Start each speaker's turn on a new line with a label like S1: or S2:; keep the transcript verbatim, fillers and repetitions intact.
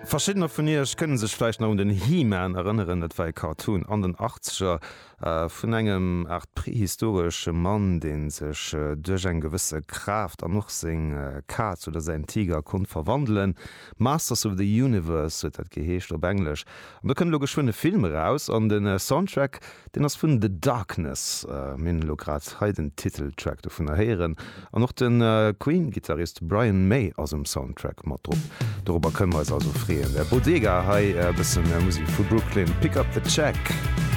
S1: Verschiddener vun Iech kënne sech vläicht nach un den He-Man erënneren. Dat war e Cartoon an den Achtzeger vun engem Aart prehistoresche Mann, dee sech duerch eng gewësse Kraaft an och seng Kaz oder säin Tiger konnt verwandelen. Masters of the Universe huet dat geheescht op Englesch. An do kënnt elo geschwënn e Film eraus an de Soundtrack, deen ass vun The Darkness. Mir hunn elo grad hei den Titeltrack dovunner héieren. An och de Queen-Gittarist Brian May ass um Soundtrack mat drop. Dorobber kënne mer eis also freeën. Der Bodega hei e bëssen Musek vu Brooklyn, Pick Up The Check.